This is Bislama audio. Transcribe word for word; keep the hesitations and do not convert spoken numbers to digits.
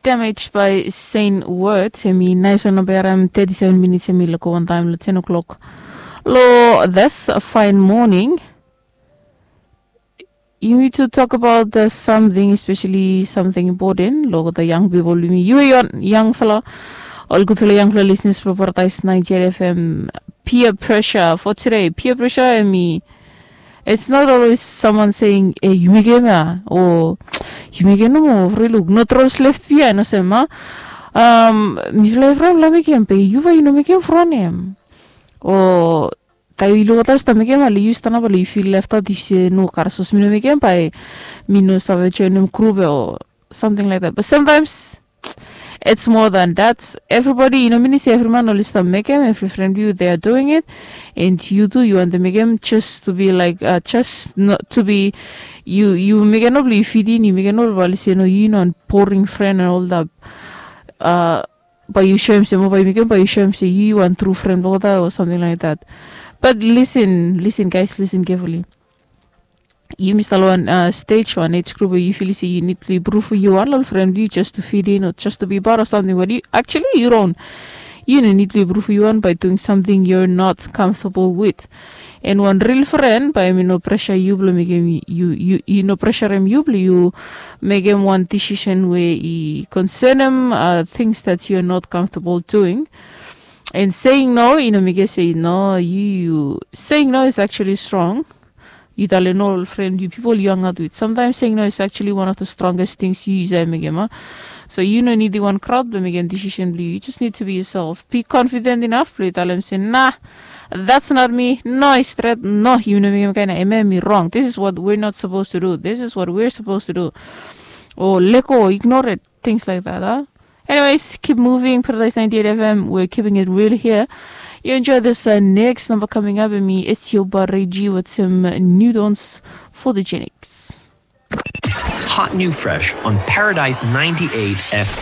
Damage by Saint Word. Hemi nais wan namba ya, em thirty-seven minutes, hemi laik go wantaem long ten o'clock long this fine morning. Yumi tu tok abaot the something, especially something important long the young people. Yumi, yu wan yangfala, ol gudfala yangfala listeners blong Paradise ninety-eight F M. Peer pressure for today. Peer pressure, hemi, it's not always someone saying, "Hey, yu mekem ya," o, "Yu mekem nomo, fri luk, no trolls left behind," olsem, a. Um, mifala evriwan mifala mekem, be yu bae yu no mekem from hem. O taem yu luk olgeta oli stap mekem, ale yu stap nao bae yu feel left out, yu se, "No, kare sapos mi no mekem, bae mi no save joenem grup ya," o something like that. But sometimes it's more than that. Everybody, yu no minim se evri man oli stap mekem, evri fren blong yu, they are doing it. And yu tu, yu wantem mekem just to be like, uh, just not to be, yu, yu mekem nomo blong yu fit in, yu mekem nomo blong oli se, "No, yu no wan boring fren," and all that. Uh, bae yu soem se, mo bae yu mekem, bae yu soem se yu wan tru fren blong olgeta o something like that. But listen, listen, guys, listen carefully. Yumi stap long wan, uh, stage, wan age group we yu feel se yu nid blong yu pruv yu wan long ol fren blong yu just to fit in o just to be part of something we yu, actually, yu don't. Yu no nid blong yu pruv yu wan by doing something you're not comfortable with. And wan ril fren bae hemi no pressure yu blong mekem, yu, yu, yu no pressurem yu blong yu mekem wan decision we i concernem, uh, things that you're not comfortable doing. And saying no, i no mekem se no, yu, yu, saying no is actually strong. Yu talem no long ol fren, yu, pipol yu hangout with. Sometimes saying no is actually one of the strongest things yu, yu save mekem, a. So yu no nidim wan crowd blong mekem decision blong yu. You just need to be yourself. Be confident enough blong yu talem se, "Nah, that's not me. No, i stret. No, yu no mekem kaen ya. Hemia hemi rong. This is what we're not supposed to do. This is what we're supposed to do." O lego, ignore it. Things like that, a. Anyways, keep moving. Paradise ninety-eight F M, we're keeping it real here. You enjoy this, uh, next number coming up, and me, it's your Reggie with some new dons for the Genix. Hot new fresh on Paradise ninety-eight F M.